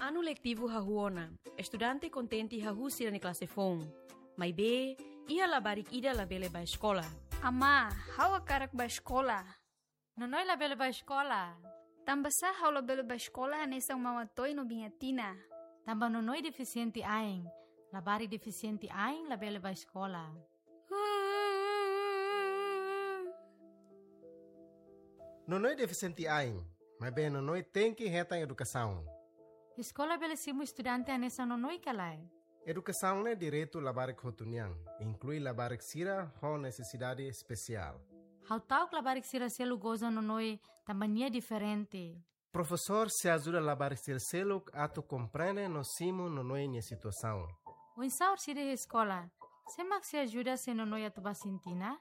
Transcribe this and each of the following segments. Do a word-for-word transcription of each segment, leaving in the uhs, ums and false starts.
Anu letivu hahú ona, estudante kontente hahú sira-nia klase foun. Maibé, iha labarik ida labele bá eskola. Amá, ha'u hakarak bá eskola. Nonoi labele bá eskola. Tanbasá ha'u labele bá eskola hanesan Mama Toy no Biña Tina? Tanba Nonoi defisiente ain. Labarik defisiente ain labele bá eskola. Nonoi defisiente ain, maibé Nonoi tenke hetan edukasaun. Eskola bele simu estudante hanesan Nonoi ka lae? Edukasaun ne'e direitu labarik hotu nian, inklui labarik sira ho nesesidade espesiál. Ha'u ta'uk labarik sira seluk goza Nonoi tanba nia diferente. Profesór sei ajuda labarik sira seluk atu komprende no simu Nonoi nia situasaun. Oinsá orsida iha eskola? Sé mak sei ajuda se Nonoi atu bá Sintina?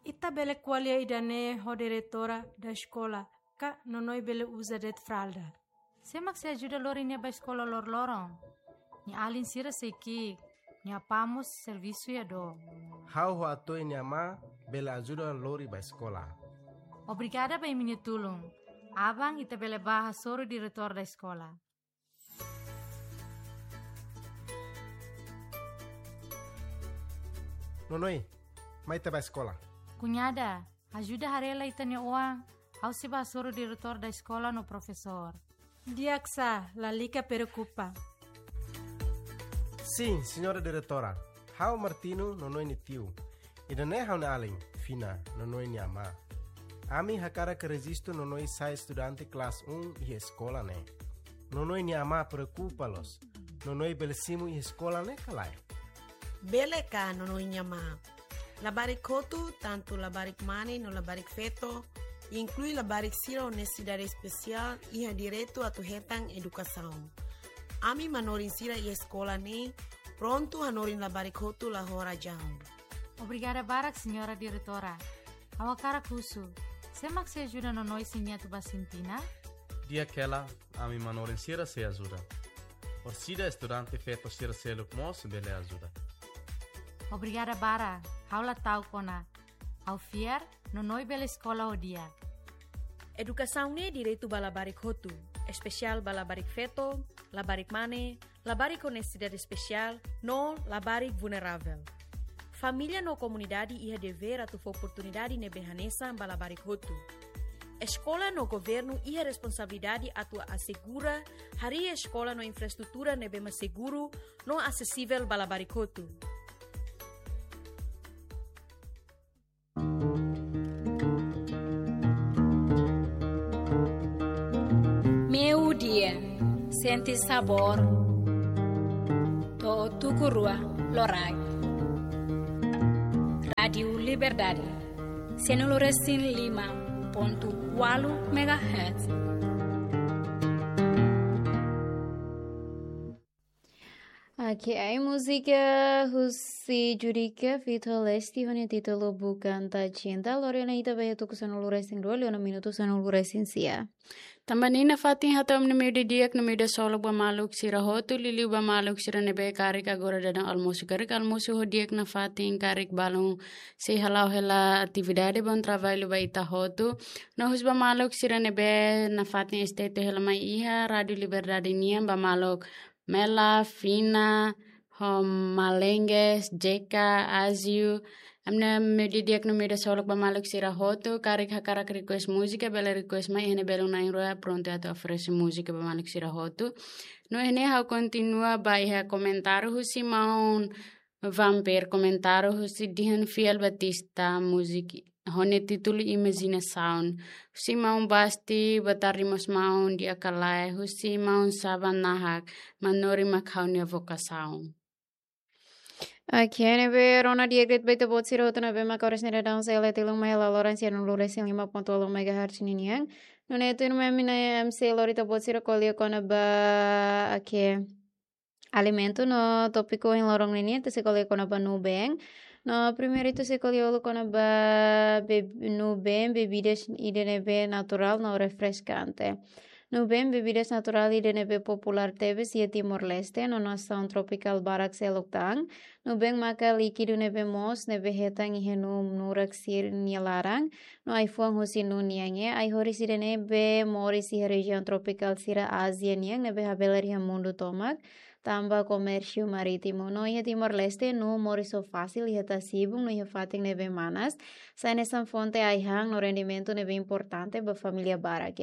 Ita bele ko'alia ida-ne'e ho diretora da eskola, ka Nonoi bele uza de'it fralda. Sé mak sei ajuda lori nia bá eskola loroloron? Nia alin sira sei ki'ik, nia apá mós servisu iha dook. Ha'u ho Atoy nia amá bele ajuda lori bá eskola. Obrigada ba imi-nia tulun. Aban ita bele bá hasoru diretór da eskola. Nonoi, mai ita bá eskola. Kuñada, ajuda haree lai ita-nia oan, ha'u sei bá hasoru diretór da eskola no profesór. Di'ak sá, lalika preokupa. Sin, señora diretora. Ha'u Martino, Nonoi nia tiu. Ida-ne'e ha'u-nia alin, Fina, Nonoi nia amá. Ami hakarak rejistu Nonoi sai estudante klase um iha eskola ne'e. Nonoi nia amá preokupa loos. Nonoi bele simu iha eskola ne'e ka lae? Bele ka, Nonoi nia amá? Labarik hotu, tantu labarik mane no labarik feto, inklui labarik sira ho nesesidade espesiál, iha direitu atu hetan edukasaun. Ami manorin sira iha eskola ne'e prontu hanorin labarik hotu la ho razaun. Obrigada barak, señora diretora. Ha'u hakarak husu, sé mak sei ajuda Nonoi se nia atu bá Sintina? Di'ak hela, ami manorin sira sei ajuda. Orsida estudante feto sira seluk mós bele ajuda. Obrigada barak, ha'u la ta'uk ona. Ha'u fiar, Nonoi bele eskola ho di'ak. Edukasaun ne'e direitu ba labarik hotu, espesiál ba labarik feto, labarik mane, labarik ho nesesidade espesiál, no labarik vulneravel. Família no komunidade iha devér atu fó oportunidade ne'ebé hanesan ba labarik hotu. Eskola no governu iha responsabilidade atu asegura harii eskola no infraestrutura ne'ebé mak seguru no asesivel ba labarik hotu. Meiudia, sente sabór to'o tuku rua loraik. Rádiu Liberdade, sanulu resin lima pontu ualu megahertz. Oke, ai múzika husi Judika feat Lesti ho nia títulu Bukan Tak Cinta, lori ona ita ba iha tuku sanulu resin rua, liu ona minutu sanulu resin sia. Tanba ne'e nafatin hato'o ami-nia meiudia di'ak no meiudia solok ba maluk sira hotu, liuliu ba maluk sira ne'ebé karik agora daudaun almosu, karik almosu ho di'ak nafatin, karik balun sei hala'o hela atividade, bom trabalho ba ita hotu. No husu ba maluk sira ne'ebé nafatin S T T hela mai iha Rádiu Liberdade nian, ba maluk Mela, Fina, ho Malenges, Jeka, Aziu. Ami-nia meiudia di'ak no meiudia solok ba maluk sira hotu, karik hakarak request múzika, bele request mai iha ne'e, belun na'in-rua prontu atu oferese múzika ba maluk sira hotu. No iha ne'e ha'u kontinua ba iha komentáriu husi maun Vampir, komentáriu husi Dihan Fiel Batista, múzika ho nia títulu Imajinasaun. Husi maun Basti, boa tarde mós maun, di'ak ka lae? Husi maun Saba Nahak, manorin mak ha'u-nia vokasaun. Oke, ne'ebé rona di'ak de'it ba ita-boot sira hotu ne'ebé maka oras ne'e daudaun sei la tilun mai hela loron sanulu resin lima pontu ualu megahertz ninian. Nune'e tuirmai ami-nia M C lori ita-boot sira ko'alia kona-ba, oke, alimentu no tópiku ohin loron ninian ita sei ko'alia kona-ba nubeen. No primeiru ita sei ko'alia uluk kona-ba be-, nubeen, bebidas ida ne'ebé naturál no refreskante. Nuben bebidas naturál ida ne'ebé populár tebes iha Timor-Leste no nasaun tropikál barak seluk tan. Nuben maka líkidu ne'ebé moos ne'ebé hetan iha nuu nurak sira nia laran no ai-fuan husi nuu nian. Ai-horis ida ne'ebé moris iha rejiaun tropikál sira Ázia nian ne'ebé habelar iha mundu tomak tanba komérsiu marítimu. No iha Timor-Leste nuu moris ho fasil iha tasi-ibun no iha fatin ne'ebé manas, sai hanesan fonte ai-han no rendimentu ne'ebé importante ba família barak.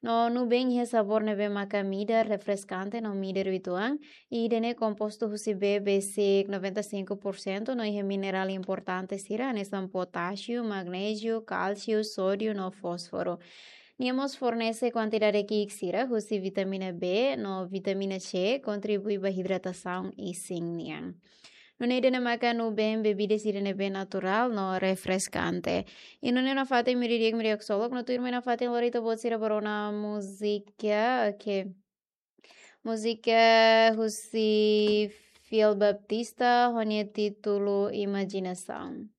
No nuben iha sabór ne'ebé maka midar, refreskante no midar uitoan. Ida-ne'e kompostu husi bee besik noventa e cinco por cento no iha minerál importante sira hanesan potásiu, magnéziu, kálsiu, sódiu no fósforu. Nia mós fornese kuantidade ki'ik sira husi vitamina B no vitamina C, kontribui ba idratasaun isin nian. Nune'e ida-ne'e maka nuben bebidas ida ne'ebé naturál no refreskante. I nune'e nafatin miri di'ak miri haksolok, no tuirmai nafatin lori ita-boot sira ba rona múzika, oke. Múzika husi Fiel Baptista, ho nia títulu Imajinasaun.